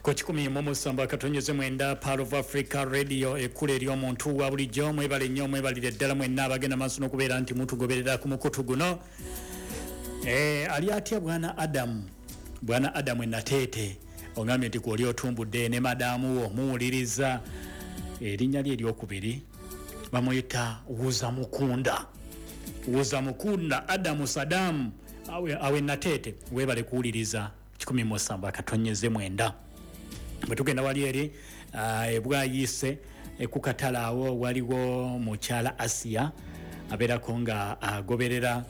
Ku 107.9 Pearl of Africa Radio, ekkula ery'omuntu wa bulijjo. Mwebale nnyo, mwebalire ddala mwenna abagenda maaso n'okubeera nti mutugoberera ku mukutu guno. Ali atya bwana Adamu? Bwana Adamu enateete ogambye nti kwoli otumbudde ne madaamu wo muwuliriza. Erinnya lye eryokubiri bamuyita Wuza Mukunda. Wuza Mukunda Adamu Sadamu awe nateete, webale kuwuliriza 107.9. Bwe tugenda wali eri ebwayise kukatala awo waliwo mukyala Asiya abeerako nga agoberera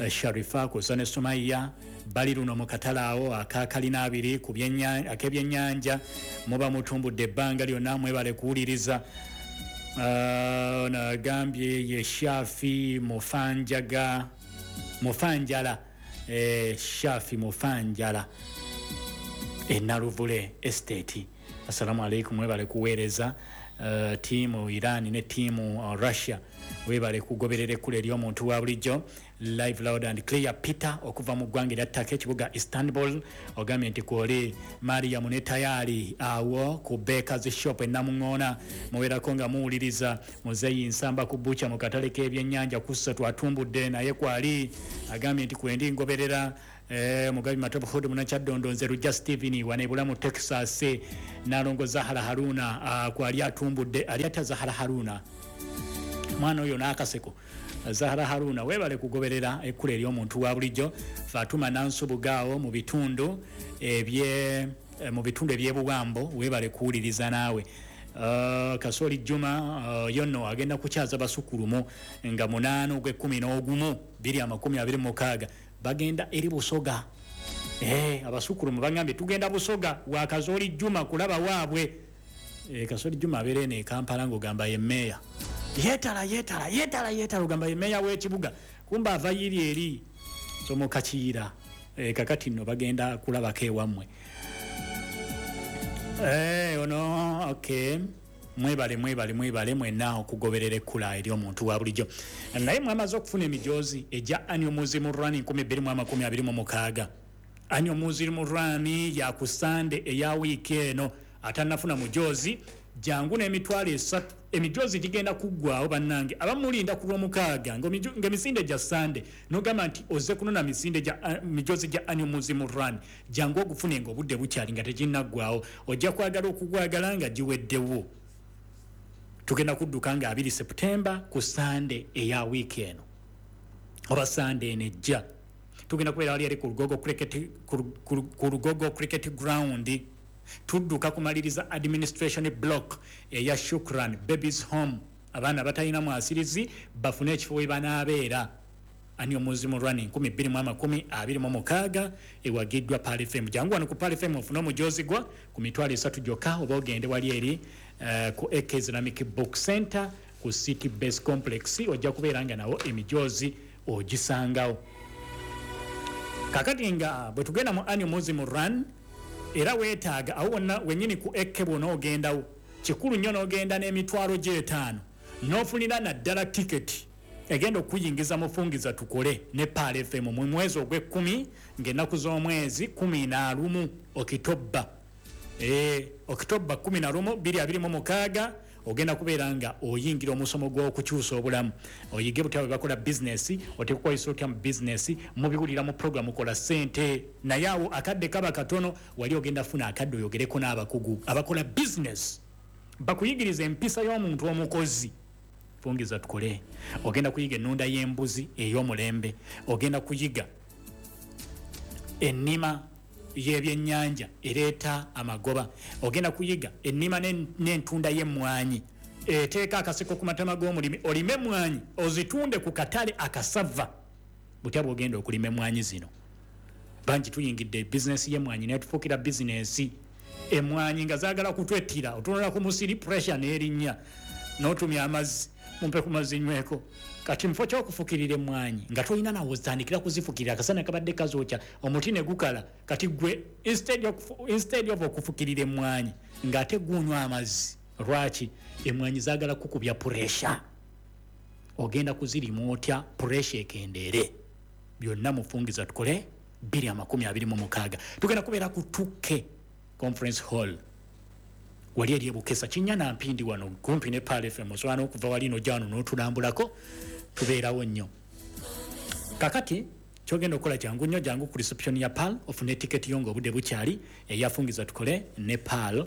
Sharifa kusa ne Sumaiya bali luno mu katale awo akakalina abiri ku ak'ebyennyanja. Muba mutumbudde ebbanga lyonna, mwebale kuwuliriza. Nagambye ye Shafi Mufanjaga Mufanjala, Shafi Mufanjala enaluvule Estate. Assalamu alaikum, mwebale kuweereza. Tiimu Iran ne tiimu Russia, webale kugoberera ekkula ery'omuntu wa bulijjo live, loud and clear. Peter okuva mu ggwanga erya Turkey, ekibuga Istanbul, ogambye nti kwoli Mariamu ne Tayali awo ku Bakers Shop enamuŋoona mubeerako nga muwuliriza. Muzeeyi Nsamba ku bucha mu katale k'ebyennyanja kussa twatumbudde naye kwali, agambye nti kwendi ngoberera. Mugabi Matovu Hood Munakyaddondo, nze Lujja Steven wanebula mu Texas. Nalongo Zahara Haruna kwali atumbudde. Ali atya Zahara Haruna? Mwana oyo n'akaseko. Zahara Haruna, webale kugoberera ekkula ery'omuntu wa bulijjo. Fatuma Nansubugaawo mu bitundu ebye mu bitundu ebyebuwambo, webale kuwuliriza naawe. Kasoli Juma yonno agenda kukyaza basukulumu nga 8 ogw'e11 2026 bagenda eri Busoga. Abasukulumu bagambye tugenda Busoga wa Kasoli Juma kulaba waabwe. Kasoli Juma abeera eno e Kampala ng'ogamba ye meeya, yeetala yeetala yeetala yeetala, ogamba ye meeya w'ekibuga, kumba ava yiri eri somoka Kiyira. Kakati nno bagenda kulabako ewammwe. Ono okay, mwebale mwebale mwebale mwenna okugoberera ekkula ery'omuntu wa bulijjo. Naye mwamaze okufuna emijoozi egya Annual Muslim Run 2026? Annual Muslim Run ya ku Sande eya wiiki eno. Atannafuna mujoozi, jangu n'emitwalo 3. Emijoozi gigenda kuggwawo bannange. Abamulinda ku Lwomukaaga ng'emisinde gya Sande nogamba nti ozze kunona misinde gya mijoozi gya Annual Muslim Run, jangu ogufune nga obudde bukyali, nga teginnaggwawo. Ojja kwagala okugwagala nga giweddewo. Tugenda kudduka nga 2 Septemba ku Sande eya wiiki eno oba Sande eno ejja. Tugenda kubeera wali eri ku Lugogo Cricket Ground. Tudduka kumaliriza administration block eya Shukran Babies Home, abaana batalina mwasirizi bafune ekifo we banaabeera. Annual Muslim Run 2026 ewagiddwa Pearl FM. Jangu wano ku Pearl FM ofune omujoozi gwa ku 30,000 gyokka, oba ogende wali eri ku AK Islamic Book Center ku City Base Complex, ojja kubeera nga nawo emijoozi ogisangawo. Kakati nga bwe tugenda mu Annual Muslim Run, era weetaaga awo wonna wennyini ku ekke bwona ogendawo, kikulu nnyo n'ogenda n'emitwalo gy'etaano n'ofunira naddala tiketi egenda okuyingiza mufungiza tukole ne Pearl FM mu mwezi ogw'ekkumi ng'ennaku z'omwezi 11 Okitobba. Okitobba 11 2026 ogenda kubeera nga oyingira omusomo gw'okukyusa obulamu, oyige butya bwe bakola bizinesi, oteekukwayisa otya mu bizinesi. Mubiwulira mu programu Kola Ssente, naye awo akadde kaba katono. Wali ogenda funa akadde oyogereko n'abakugu abakola bizinesi, bakuyigiriza empisa y'omuntu omukozi. Fungiza tukole, ogenda kuyiga ennunda y'embuzi ey'omulembe, ogenda kuyiga ennima y'ebyennyanja ereeta amagoba, ogenda kuyiga ennima n'entunda y'emmwanyi eteeka akaseko ku matama g'omulimi, olime emmwanyi ozitunde ku katale akasava. Butya bwogenda okulima emmwanyi zino? Bangi tuyingidde bizinesi y'emmwanyi naye tufuukira bizinesi emmwanyi nga zaagala kutwettira. Otunula ku musiri, pressure n'erinnya, n'otumya amazzi, mumpe ku mazzi nyweko. Kati mufo kyokufukirira emmwanyi nga tolina nawe ozitandikira kuzifukirira, akasana kabadde kazookya omuti ne gukala. Kati gwe instead of okufukirira emmwanyi ng'ate gunywa amazzi. Lwaki? Emmwanyi zaagala kukubya pressure. Ogenda kuzirima otya pressure ekendeere? Byonna mufungiza tukole 2026. Tugenda kubeera ku 2K. Conference Hall wali eri ebukesa kinya na mpindi wano kumpi ne Pearl FM. Osobola n'okuva wali nojja wano n'otulambulako, tubeerawo nnyo. Kakati kyogenda okukola kyangu nnyo, jangu ku reception ya Pearl ofune tiketi yo ng'obudde bukyali eyafungiza tukole ne Pearl,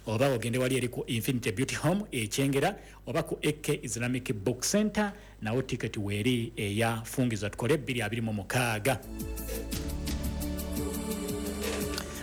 oba ogende wali eri ku Infinity Beauty Home ekyengera oba ku AK Islamic Book Center, nawo tiketi weeri eyafungiza tukole 2026.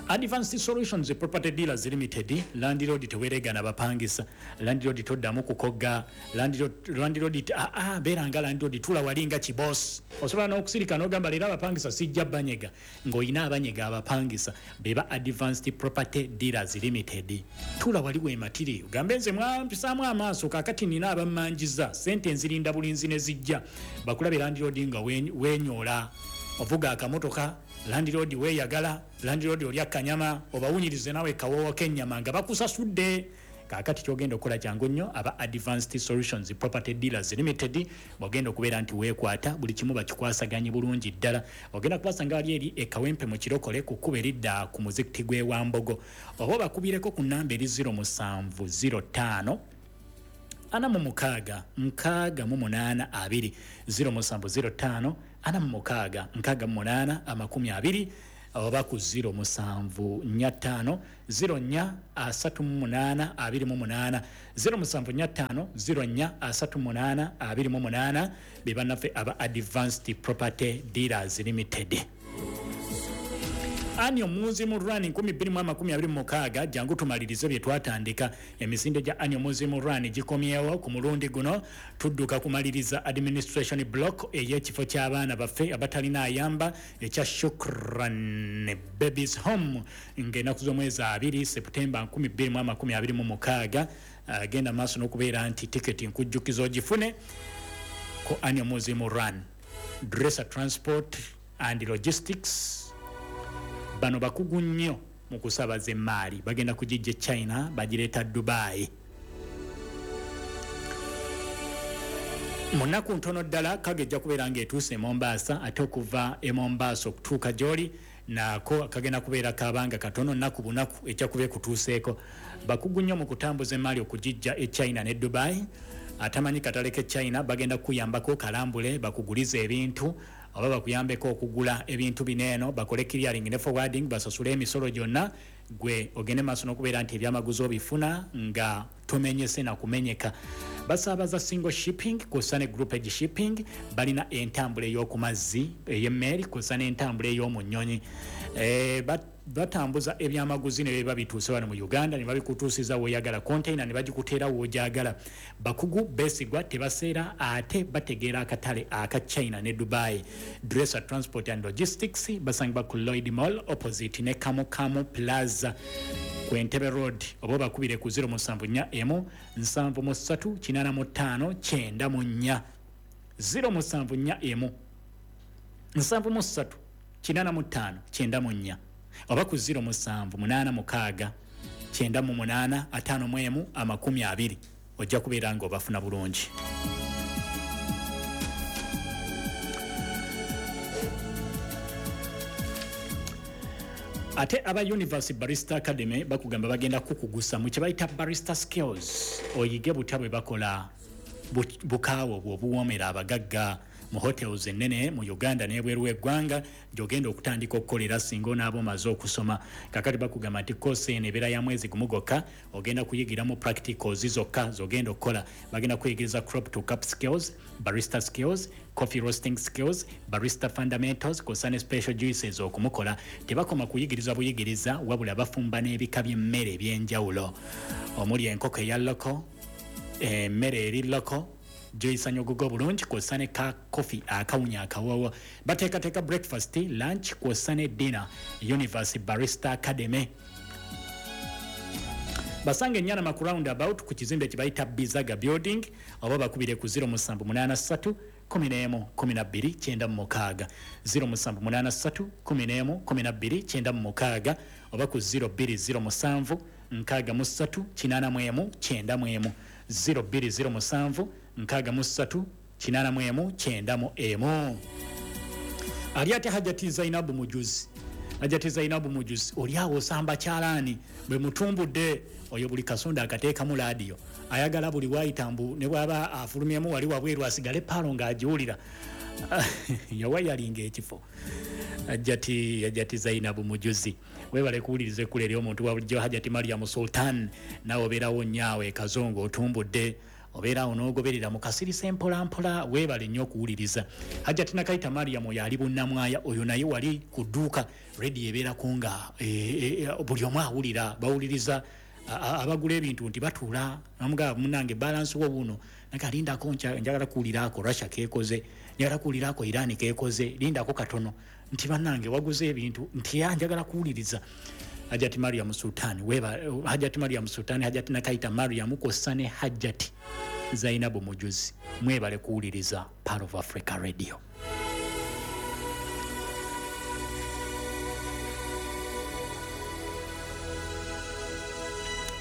Advanced Solutions Property Dealers Limited, landlord teweregana bapangisa, landlord toddamu kukogga, landlord beera nga landlord, tula walinga kiboss. Osobola n'okusirika n'ogamba leero abapangisa sijja banyega, ng'olina abanyega abapangisa beba Advanced Property Dealers Limited. Tula wali weematire ogambe nze mwampisaamu amaaso, kaakati nina abammanjiza sente nzirinda bulinzi ne zijja. Bakulabe landlord nga wenyoola, ovuga akamotoka, landlord weeyagala, landlord olya kanyama, obawunyirize nawe kawoowo k'ennyama nga bakusasudde. Kaakati kyogenda okukola kyangu nnyo, aba Advanced Solutions Property Dealers Limited bwogenda okubeera nti weekwata buli kimu bakikwasaganye bulungi ddala. Ogenda kubasanga wali eri e Kawempe mu Kirokole ku kkubo eridda ku muzikiti gw'e Wambogo, oba obakubireko ku nnamba eri 0705 46 68 20, 0705 46 68 20, oba ku 0745 04 38 28, 0745 04 38 28. Be bannaffe aba Advanced Property Dealers Limited. Ani omuzi mu Run 2026, jangu tumalirize bye twatandika. Emisinde gya Ani omuzi mu Run gikomyewo ku mulundi guno, tudduka kumaliriza administration block ey'ekifo ky'abaana baffe abatalina ayamba ekya Shukran Babies Home, ng'ennaku z'omwezi 2 Septemba 2026. Genda maaso n'okubeera nti tiketi nkujjukiza ogifune ku Ani omuzi mu Run. Dresser Transport and Logistics bano bakugu nnyo mu kusabaza emaali, bagenda kugijja China bagireeta Dubai. Mu nnaku ntono ddala kaga ejja kubeera ng'etuuse e Mombasa, ate okuva e Mombasa okutuuka gy'oli nako kagenda kubeera kabanga katono, nnaku bunaku ejja kuba ekutuuseeko. Bakugu nnyo mu kutambuza emaali okugijja e China ne Dubai. Atamanyi katale ke China bagenda kukuyambako kalambule, bakugulize ebintu oba bakuyambeko okugula ebintu bino eno, bakole clearing ne forwarding, basasule emisolo gyonna, gwe ogende maaso n'okubeera nti ebyamaguzi obifuna nga tomenyese na kumenyeka. Basaabaza single shipping kw'ossa ne groupage shipping, balina entambula ey'oku mazzi ey'emmeeri kw'ossa n'entambula ey'omu nnyonyi. Batambuza ebyamaguzi ne biba bituuse wano mu Uganda ne babikutuusiza w'oyagala, container ne bagikuteera w'ogyagala. Bakugu beesigwa, tebaseera, ate bategeera akatale aka China ne Dubai. Dresser Transport and Logistics basangibwa ku Lloyd Mall opposite ne Kamu Kamu Plaza ku Entebbe Road, oba obakubire ku 0741 73 85 94, 0741 73 85 94, oba ku 0786 98 51 20, ojja kubeera ng'obafuna bulungi. Ate aba Universe Barista Academy bakugamba bagenda kukugusa mu kye bayita barista skills, oyige butya bwe bakola bukaawa obwo obuwoomera abagagga mu hotels ennene mu Uganda n'ebweru w'eggwanga gy'ogenda okutandika okukolera singa onaaba omaze okusoma. Kakati bakugamba nti koosi eno ebeera ya mwezi gumu gwokka, ogenda kuyigiramu practicals zokka z'ogenda okukola. Bagenda kuyigiriza crop to cup skills, barista skills, coffee roasting skills, barista fundamentals kw'ossa ne special juices okumukola. Tebakoma kuyigiriza buyigiriza, wabula bafumba n'ebika by'emmere eby'enjawulo omuli enkoko eya loko, emmere eri loko gyoyisanya ogugo bulungi kw'ossa ne ka coffee akawunya akawoowo. Bateekateeka breakfast, lunch kw'ossa ne dinner. Universe Barista Academy basanga enyanama ku roundabout ku kizimbe kye bayita Bizaga Building, oba bakubire ku 0783 11 12 96, 0783 11 12 96, oba ku 0207 63 81 91, 0207 63 81 91. Ali ate Hajati Zainabu Mujuzi Hajati Zainabu Mujuzi, oli awo osamba kyalaani bwe mutumbudde oyo buli kasonda akateekamu laadiyo, ayagala buli waayita mbu ne bw'aba afulumyemu wali wabweru asigale paalo ng'agiwulira. Yawayalinga ekifo. Hajati Zainabu Mujuzi, webale kuwuliriza ekkula ery'omuntu wa bulijjo. Hajati Mariam Sultan, nawe obeerawo nnyaawe Kazongo, otumbudde, obeerawo n'ogoberera mu kasirisa empolampola, weebale nnyo okuwuliriza. Hajati Nakaita Mariam, oyo ali Bunnamwaya, oyo naye wali ku dduuka rediyo ebeerako nga buli omu awulira, bawuliriza abagula ebintu nti batuula namugamba munange balance wo buno nakalindako, njagala kuwulirako Russia kekoze, njagala kuwulirako Iran kekoze, lindako katono nti bannange waguze ebintu nti ya njagala kuwuliriza. Hajati Mariam Sultan, weba Hajati Mariam Sultan, Hajati Nakaita Mariam kwossa ne Hajati Zainabu Mujuzi, mwebale kuwuliriza Pearl of Africa Radio.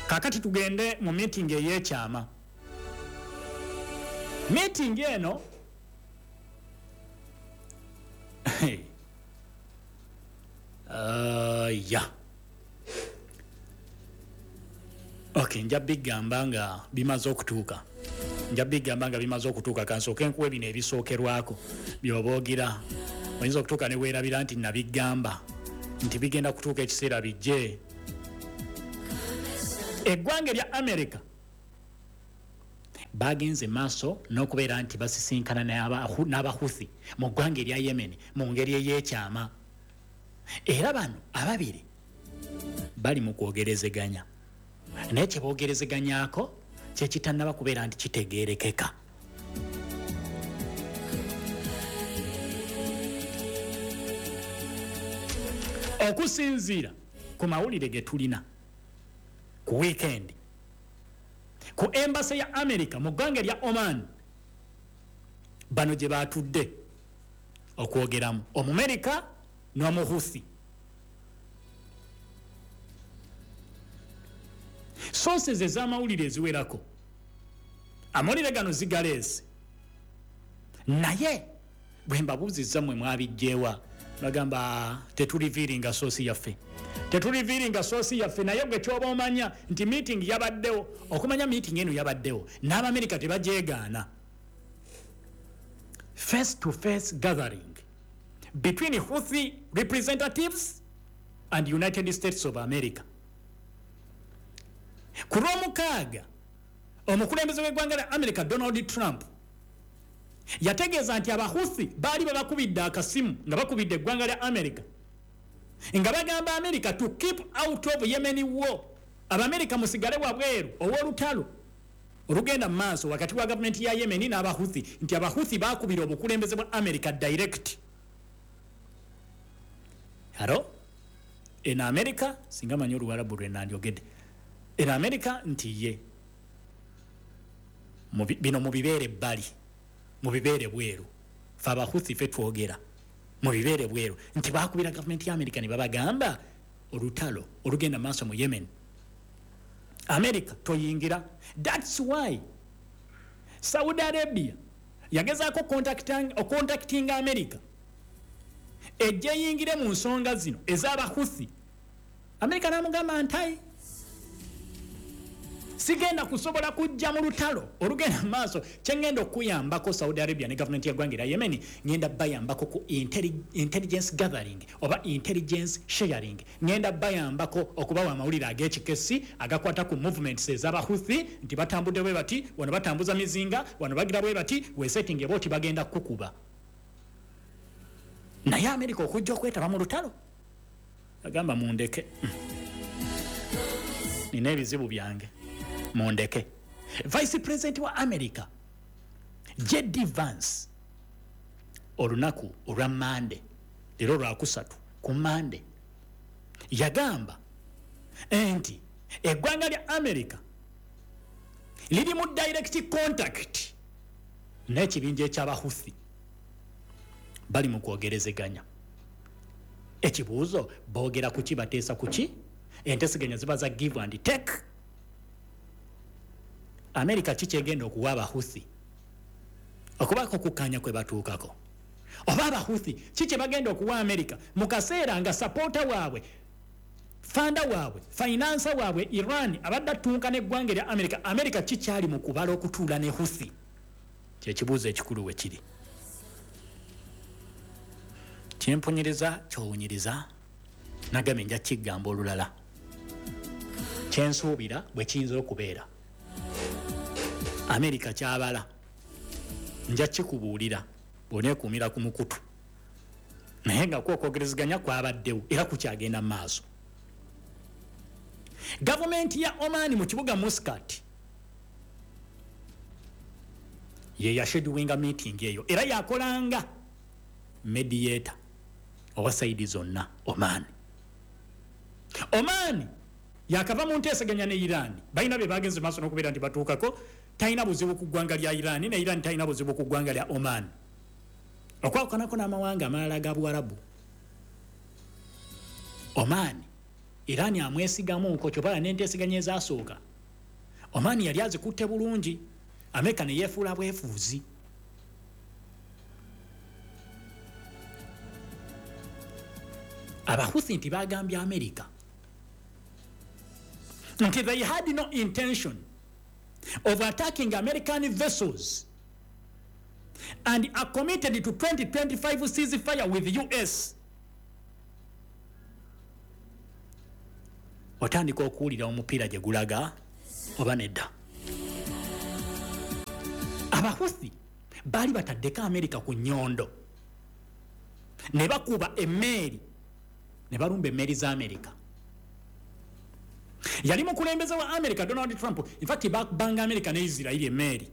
Kakati tugende mu meeting ey'ekyama. Meeting eno ya okay, nja bigamba nga bimaze okutuuka, nja bigamba nga bimaze okutuuka. Kansooke nkuwe bino ebisookerwako by'oboogira, oyinza okutuuka ne weerabira nti nabigamba nti bigenda kutuuka ekiseera bijje. Eggwanga erya America bagenze maaso n'okubeera nti basisinkana n'Abahuthi mu ggwanga erya Yemen mu ngeri ey'ekyama, era bano ababiri bali mu kwogerezeganya, naye kye boogerezeganyako kye kitannaba kubeera nti kitegeerekeka. Okusinziira ku mawulire ge tulina ku weekend, ku embassy ya America mu ggwanga erya Oman, bano gye batudde okwogeramu Omumerika n'Omuhuthi. Sources ez'amawulire eziwerako amawulire gano zigaleese, naye bwe mbabuuzizza mmwe mwabijjeewa, bagamba tetuliviiringa source yaffe, tetuliviiringa source yaffe. Naye gwe kyoba omanya nti meeting yabaddewo, okumanya meeting eno yabaddewo n'Abamerika tebagyegaana. Face to face gathering between Houthi representatives and United States of America. Ku lwomukaaga omukulembeze w'eggwanga lya America Donald Trump yategeeza nti Abahuthi baali babakubidde akasimu nga bakubidde eggwanga lya America nga bagamba America to keep out of Yemen war, Abamerika musigale wabweru ow'olutalo olugenda mu maaso wakati wa gavumenti ya Yemen n'Abahuthi, nti Abahuthi bakubira obukulembeze bwa America direct. Haro eno America singa manyi Oluwarabu lwe nandyogedde, eno America nti ye bino mubibeere ebbali, mubibeere bweru, fe Abahuthi fe twogera, mubibeere bweru, nti bakubira gavumenti ya America ne babagamba olutalo olugenda maaso mu Yemen, America toyingira. That's why Saudi Arabia yagezaako ocontactinga America ejje eyingire mu nsonga zino ez'Abahuthi. America n'amugamba nti sigenda kusobola kujja mu lutalo olugenda mu maaso, kye ngenda okuyambako Saudi Arabia ne gavumenti y'eggwanga erya Yemen, ngenda bayambako ku intelligence gathering oba intelligence sharing, ngenda bayambako okubawa amawulire ag'ekikesi agakwata ku movements ez'Abahuthi nti batambudde bwe bati, wano batambuza mizinga, wano bagira bwe bati, weesetinge booti bagenda kukuba. Naye Amerika okujja okwetaba mu lutalo agamba mundeke, nina ebizibu byange, mundeke. Vice President wa America JD Vance olunaku olwa Mande, leero lwakusatu ku Mande, yagamba nti eggwanga lya America liri mu direct contact n'ekibinja eky'Abahuthi, bali mu kwogerezeganya. Ekibuuzo, boogera kuki, bateesa kuki? Enteeseganya ziba za give and take. America ki kyegenda okuwa Abahuthi okubaako okukkaanya kwe batuukako? Oba Abahuthi ki kye bagenda okuwa Amerika mu kaseera nga supporter waabwe, funder waabwe, financer waabwe Iran abadde attunka n'eggwanga erya Amerika? Amerika kikyali mu kubala okutuula ne Huthi? Kyekibuuzo ekikulu we kiri. Kyempunyiriza kyowunyiriza, nagambye nja kigamba olulala. Kyensuubira bwe kiyinza okubeera, Amerika kyabala, nja kikubuulira bw'oneekuumira ku mukutu. Naye nga kwokwogerezeganya kwabaddewo era kukyagenda mu maaso. Gavumenti ya Oman mu kibuga Muscat ye yaschedulinga meeting eyo, era yakolanga mediator owa side zonna. Oman, Oman yakava mu nteeseganya ne Iran, balina bye bagenze maaso n'okubeera nti batuukako. Talina buzibu ku ggwanga lya Iran, ne Iran talina buzibu ku ggwanga lya Oman, okwawukanako n'amawanga amalala ga Buwarabu. Oman, Iran amwesigamuuko, kyobala n'enteeseganya ezasooka Oman yali azikutte bulungi. Amerika ne yeefuula bwefuuzi. Abahuthi nti bagambye Amerika nti they had no intention of attacking American vessels and are committed to 2025 ceasefire with US. Otandika okuwulira omupiira gye gulaga oba nedda? Abahuthi baali bataddeko Amerika ku nnyondo ne bakuba emmeeri, ne balumba emmeeri za Amerika. Yali mukulembeze wa America Donald Trump. Infact bakubanga America ne Isirairi emmeeri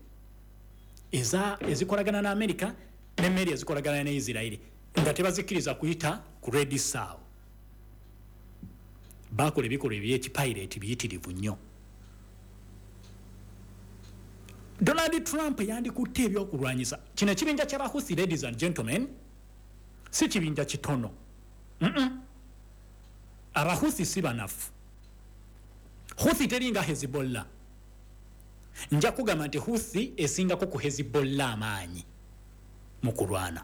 ezikolagana ne America n'emmeeri ezikolagana ne Isirairi nga tebazikkiriza kuyita ku Red Sea. Bakola ebikolwa ebyekipirate biyitirivu nnyo. Donald Trump yandikutte ebyokulwanyisa kino. Ekibinja ky'Abahuthi, ladies and gentlemen, si kibinja kitono. Abahuthi si banafu. Huthi teringa Hezbollah. Nja kugamba nti Huthi esingako ku Hezbollah amaanyi mu kulwana.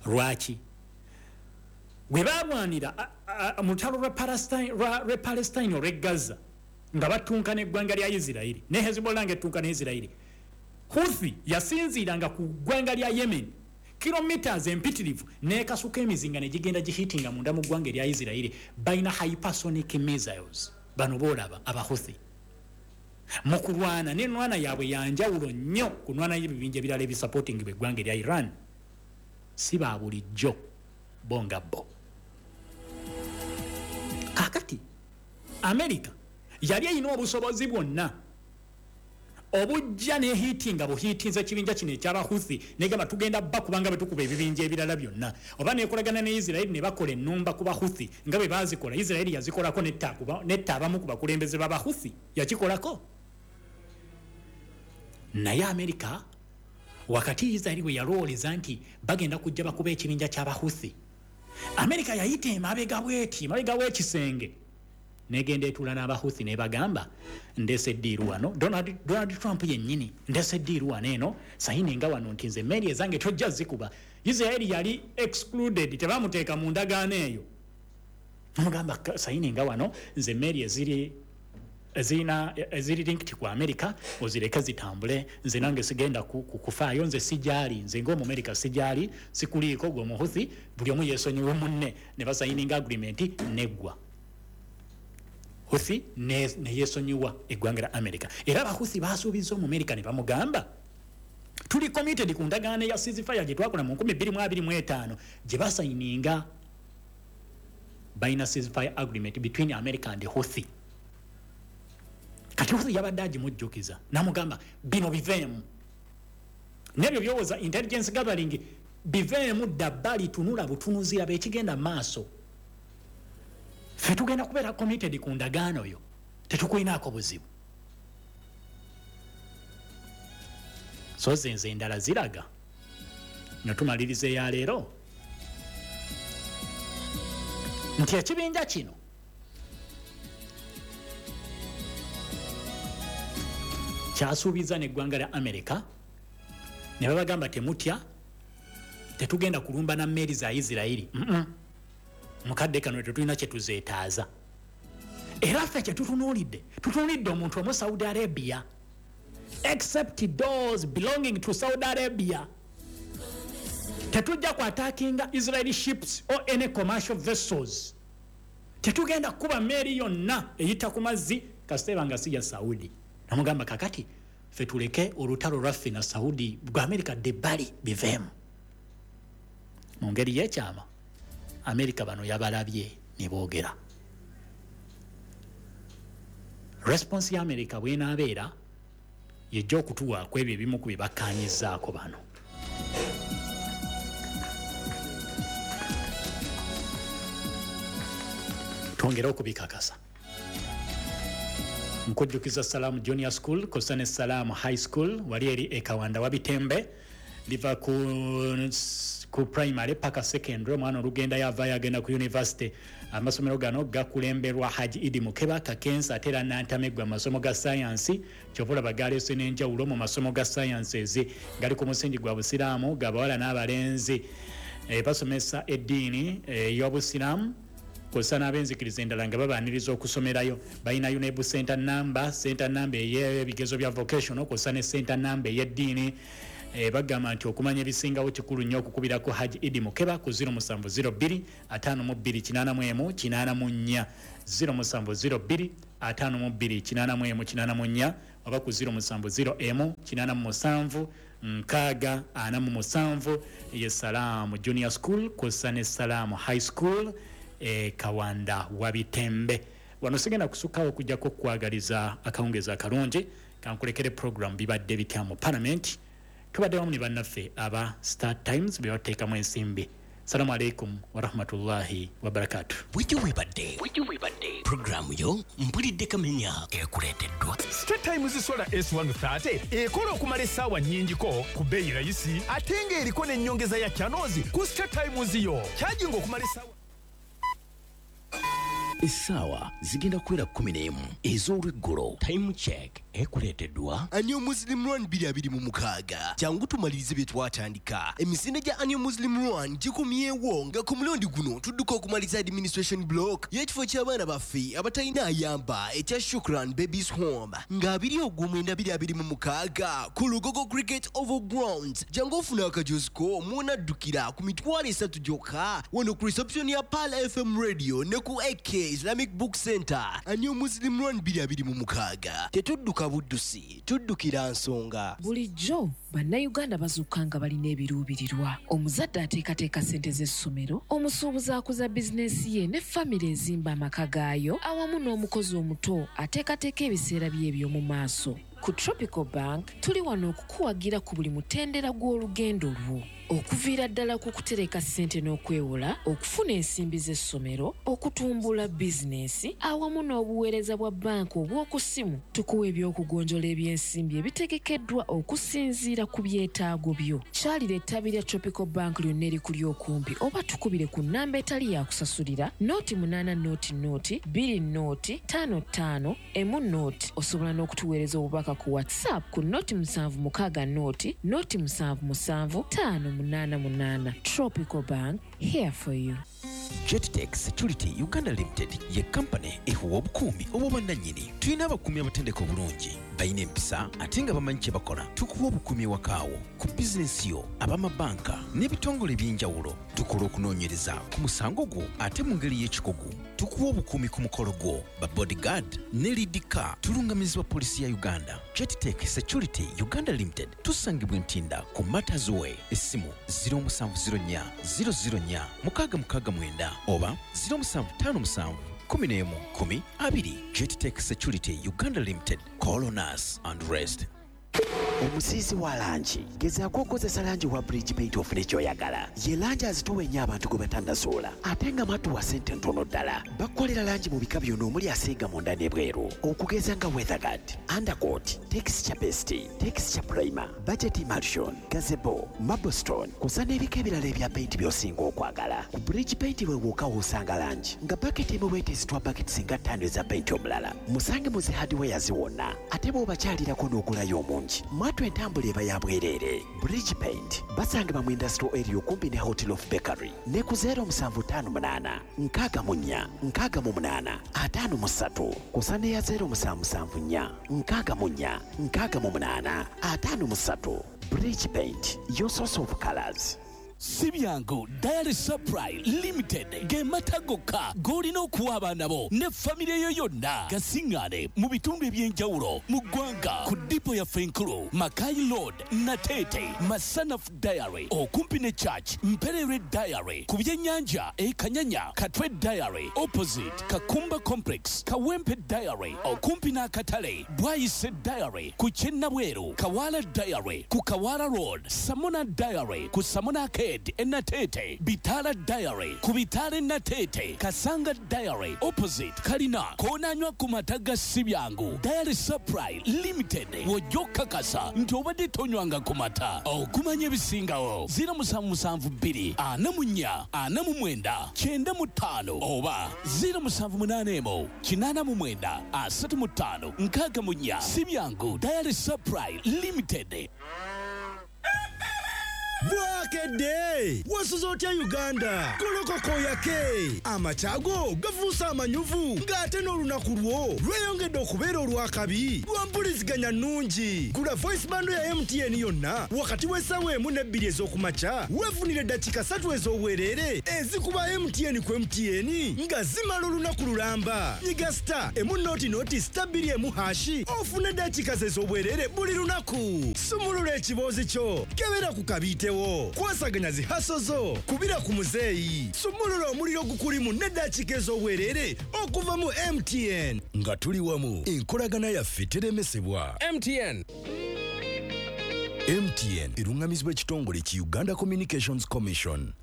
Lwaki? Bwe balwanira mu lutalo lwa Palestine olw'e Gaza nga batunka n'eggwanga lya Isirairi, ne Hezbollah nga ettunka ne Isirairi, Huthi yasinziiranga ku ggwanga lya Yemen kilometers empitirivu nekasuka emizinga negigenda gihitinga munda mu ggwanga erya Isirairi. Balina hypersonic missiles bano boolaba Abahuthi. Mu kulwana nenwana yaabwe yanjawulo nnyo ku nwana y'ebibinja ebirala ebisupportingibwa eggwanga erya Iran. Si ba bulijjo bo nga bo. Kakati America yali erina obusobozi bwonna obujja nehitinga buhitinza ekibinja kino ekyabahuthi, negamba tugenda bba kubanga bwetukuba ebibinja ebirala byonna, oba nekolagana ne Isirairi ne bakola ennumba ku Bahuthi nga bwe bazikola. Isirairi yazikolako netta abamu ku bakulembeze b'Abahuthi, yakikolako. Naye Amerika wakati Isirairi bwe yalowoleza nti bagenda kujja bakuba ekibinja ky'Abahuthi, Amerika yayita emabega bweti, emabega w'ekisenge, negenda etuula n'Abahuthi nebagamba, "Ndeese deal wano." Donald Trump yennyini, "Ndeese deal wano eno, sayininga wano nti nze emmeeri ezange tojja zikuba." Isiraeri yali excluded, tebamuteeka mu ndagaano eyo. Mugamba, "Sayininga wano, nze emmeeri eziri ezirina eziri linked ku America ozireke zitambule. Nze nange sigenda kufaayo, nze sijaali, nze ng'Omumerika sijaali, sikuliiko gwe Omuhuthi. Buli omu yeesonyiwe munne." Ne basayininga agreement neggwa. Huthi neyesonyiwa eggwanga lya America. Era Abahuthi basuubiza Omumerika ne bamugamba, "Tuli committed ku ndagaano ya ceasefire gye twakola mu 2025." Gye basayininga, balina ceasefire agreement between America and Huthi. Kati Huthi yabadde agimujjukiza namugamba, "Bino biveemu nebyo byowoza intelligence gathering, biveemu dda bbali, tunula butunuzi, laba ekigenda maaso. Ffe tugenda kubeera committed ku ndagaano yo, tetukulinaako buzibu." So zenze endala ziraga nga tumaliriza eyaleero nti ekibinja kino kyasuubiza neggwanga lya America ne babagamba, "Temutya, Tetugenda kulumba na mmeeri za Isirayiri. Mukadde kano tetulina kye tuzeetaaza. Era ffe kye tutunuulidde, tutunuulidde omuntu omu Saudi Arabia, except those belonging to Saudi Arabia. Tetujja ku attackinga Israeli ships or any commercial vessels. Tetugenda kuba mmeeri yonna eyita ku mazzi kasita eba nga si ya Saudi. Namugamba kakati ffe tuleke olutalo lwaffe na Saudi gwa Amerika dde ebbali biveemu. Mu ngeri y'ekyama Amerika bano yabalabye ne boogera. Response ya Amerika bw'enaabeera yejja okutuwa ku ebyo ebimu ku bye bakkaanyizzaako bano. Twongere okubikakasa. Nkujjukiza Salaamu Junior School kw'ossa ne Salaamu High School wali eri e Kawanda Wabitembe, liva ku primary paka secondary, omwana olugendayo avaayo agenda ku university. Amasomero gano gakulemberwa Haji Idi Mukeba Kakensa, ate era Nantameggwa mu masomo ga sayansi. Kyova olaba galeese n'enjawulo mu masomo ga sciences, gali ku musingi gwa Busiraamu, g'abawala n'abalenzi. Basomesa eddiini ey'Obusiraamu kw'ossa n'ab'enzikiriza endala nga babaaniriza okusomerayo. Balina UNEB center number, center number ey'ebigezo bya vocational kw'ossa ne center number ey'eddiini. Bagamba nti okumanya ebisingawo kikulu nnyo okukubirako Haji Idi Mukeba ku 0702 52 81 84, 0702 52 81 84, oba ku 0701 87 6 47. Ye Salaamu Junior School kw'ossa ne Salaamu High School e Kawanda Wabitembe. Wano sigenda kusukkawo okuggyako okukwagaliza akawungeezi akalungi. Kankulekere program bibadde bitya mu Parliament. Tubadde wamu ne bannaffe aba Star Times be bateekamu ensimbi. Salamu aleikum warahmatullahi wabarakatu. Bujjo webadde puroguramu yo mpulidde kamenya ekuleeteddwa Star Times Solar S130 ekola okumala essaawa nnyingiko ku bbeeyi rayisi, ate ng'eriko n'ennyongeza ya channels ku Star Times yo. Kyajinga okumala essaawa. Essaawa zigenda kuwera 11 ez'olweggulo. Time check ekuleeteddwa Annual Muslim Run 2026. Jangu tumalirize bye twatandika. Emisinde gya Annual Muslim Run gikomyewo nga ku mulundi guno tudduka okumaliza administration block y'ekifo ky'abaana baffe abatalina ayamba ekya Shukran Babies Home nga 29 2026 ku Lugogo Cricket Oval Grounds. Jangu ofuna akajozi ko mwonaddukira ku 300,000 gyokka wano ku reception ya Pearl FM Radio ne ku AK Islamic Book Center. Annual Muslim Run 2026. Tetudduka buddusi, tuddukira nsonga. Bulijjo bannayuganda bazuukuka nga balina ebiruubirirwa. Omuzadde ateekateeka ssente z'essomero, omusuubuzi akuza bizinensi ye ne famire ezimba amaka gaayo, awamu n'omukozi omuto ateekateeka ebiseera bye eby'omu maaso. Ku Tropical Bank tuli wano okukuwagira ku buli mutendera gw'olugendo lwo, okuviira ddala ku kutereka ssente n'okwewola, okufuna ensimbi z'essomero, okutumbula bizinensi, awamu n'obuweereza bwa banka obw'oku ssimu. Tukuwa ebyokugonjola ebyensimbi ebitegekeddwa okusinziira ku byetaago byo. Kyalira ettabi lya Tropical Bank lyonna erikuli okumpi oba tukubire ku nnamba etali yakusasulira 080 0 20 55 10. Osobola n'okutuweereza obubaka ku WhatsApp ku 076 0 077 588. Tropical Bank, here for you. Jettech Security Uganda Limited ye kampani ekuwa obukuumi obw'obwannannyini. Tulina abakuumi abatendeka obulungi, balina empisa ate nga bamanyi kye bakola. Tukuwa obukuumi ewakaawo, ku bizinensi yo, ab'amabanka n'ebitongole eby'enjawulo. Tukola okunoonyereza ku musango gwo ate mu ngeri y'ekikugu. Tukuwa obukuumi ku mukolo gwo, ba bodyguard ne lead car. Tulungamizibwa poliisi ya Uganda. Jettech Security Uganda Limited tusangibwa Ntinda ku Matters Way. Essimu 0704 004 669 oba 0757 11 10 20. Jettech Security Uganda Limited. Call on us and rest. Omusiizi wa langi, gezaako okozesa langi wa Bridge Paint ofune ky'oyagala. Ye langi azitowa ennyo abantu gwe batannasuula, ate nga matuwa ssente ntono ddala. Bakukolera langi mu bika byonna omuli asiiga munda n'ebweru, okugeza nga weatherguard, undercoat, texture paste, texture primer, budget emulsion, gazebo, marblestone, kusa n'ebika ebirala ebya paint by'osinga okwagala. Ku Bridge Paint we wokka w'osanga langi nga baketi emu bwete ezitwa baketi singa 5 eza paint omulala. Musange mu zi hardwares wonna, ate bw'obakyalirako n'ogulayo omungi. Mwattu entambula eba ya bwereere. Bridge Paint basangibwa mu Industrial Area okumpi ne Hotel of Bakery ne ku 0758 64 68 53 kusa ne ya 0774 64 68 53. Bridge Paint, your source of colors. Si byangu Dairy Supply Limited ge mata gokka g'olina okuwa abaana bo ne famire yo yonna. Gasiŋŋaane mu bitundu eby'enjawulo mu ggwanga ku dipo yaffe enkulu Makai Road, Nateete, Masanaf Dairy okumpi ne Church, Mpererwe Dairy ku byennyanja e Kanyanya, Katwe Dairy opposite Kakumba Complex, Kawempe Dairy okumpi n'akatale, Bwayise Dairy ku Kyennabweru, Kawala Dairy ku Kawala Road, Samona Dairy ku Samona Arcade Enatete, Bitala Dairy ku Bitala Enatete, Kasanga Dairy opposite Kalina. Koonanywa ku mata ga Sibyangu Dairy Supply Limited w'ojja okukakasa nti obadde tonywanga ku mata. Okumanya ebisingawo 0772 44 49 95 oba 0781 89 35 64. Sibyangu Dairy Supply Limited. Bwakedde wasuze otya Uganda? Golokoko yake amakyago gafuuse amanyuvu ng'ate n'olunaku lwo lweyongedde okubeera olwakabi lwa mpuliziganya nnungi. Gula voice bando ya MTN yonna wakati w'essaawa 1 ne 2 ez'okumakya weefunire eddakiika 3 ez'obwereere ezikuba MTN ku MTN nga zimala olunaku lulamba. Nyiga star emu noti noti star 2 emu hashi ofune eddakiika ez'obwereere buli lunaku. Sumulula ekiboozi kyo, kebera ku kabiite, kwasaganya zihaso zo, kubira ku muzeeyi, sumulula omuliro gukulimu n'eddakiika ez'obwereere okuva mu MTN. Nga tuli wamu, enkolagana yaffe teremesebwa. MTN. MTN eruŋŋamizibwa ekitongole ki Uganda Communications Commission.